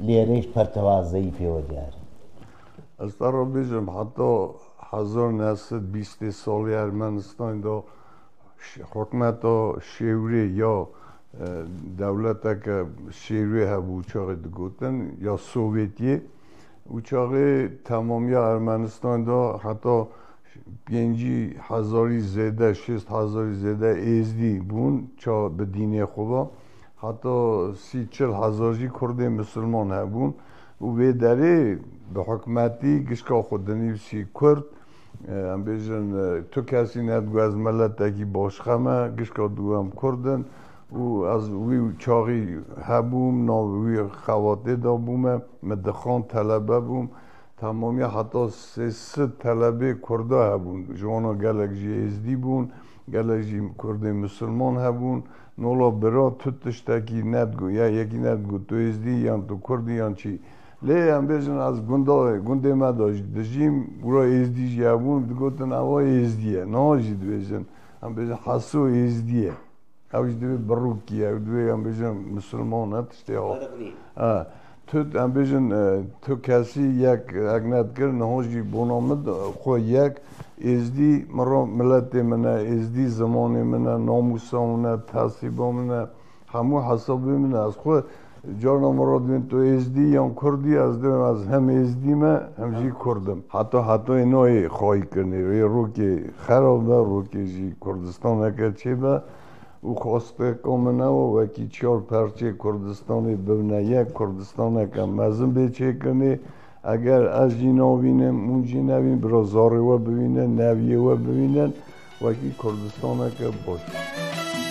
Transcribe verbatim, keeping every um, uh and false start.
lêrê ji pertewazeyî pê we diyar e. Ez te re bêjim, heta hezar neh sed bîstê salê Ermenistanê de ş- hikmeta şêwrê ya e, dewleteke şêwrê hebû, û çaxê digotin ya Sovyetiyê. Û çaxê temamiya Ermenistanê de heta pêncî hezarî zêde, şêst hezarî zêde êzdî bûn ça bi dînê xwe ve. Heta sî çil hezar jî kurdê misilman hebûn. Û vê derê bi hikmetî gişka xwe dinivîsî kurd. E, em bêjin, e, tu kesî nedigo ez miletekî başqe me, gişka digo em kurd in. Û ez wî çaxî hebûm, nav wî xebatê de bûme, min dixwand, telebe bûm. Temamiya heta sê sed telebê kurda hebûn. Ji wana gelek jî êzdî bûn, gelek jî kurdê misilman hebûn. Nola bira tu tiştekî nedigo, ya yekî nedigo tu êzdî, yan tu kurdî, yan çî. Lê em bêjin ez gunda, gundê me de jî dijîm, gura êzdî jî hebûn, digotin ewa êzdî ye. Niha jî dibêjin, em bêjin Heso êzdî ye. Ew jî divê birûkî ye, ew divê em bêjin misilman e, tiştê ha. Ferq nîne. Ha. Tu, em bêjin, e, tu kesî yek ek nedikir, niha jî bona min de xwe yek, êzdî mira miletê min e, êzdî zimanê min e, namûsa min e, tesîba min e, hemû hesabê min e. Ez xwe carna min re dibên tu êzdî yan kurdî, ez dibêm ez hem êzdî me, hem jî kurd im. Heta heta ê nayê xayî kirinê, ê rokê xerab be, rokê jî Kurdistaneke çêbe. Û xwesteka min ew e, wekî çar perçê Kurdistanê bibine yek, Kurdistaneke mezin bê çêkirinê. Eger ez jî nabînim, hûn jî nebîn, bira zarê we bibînin, neviyê we bibînin, wekî Kurdistaneke baş.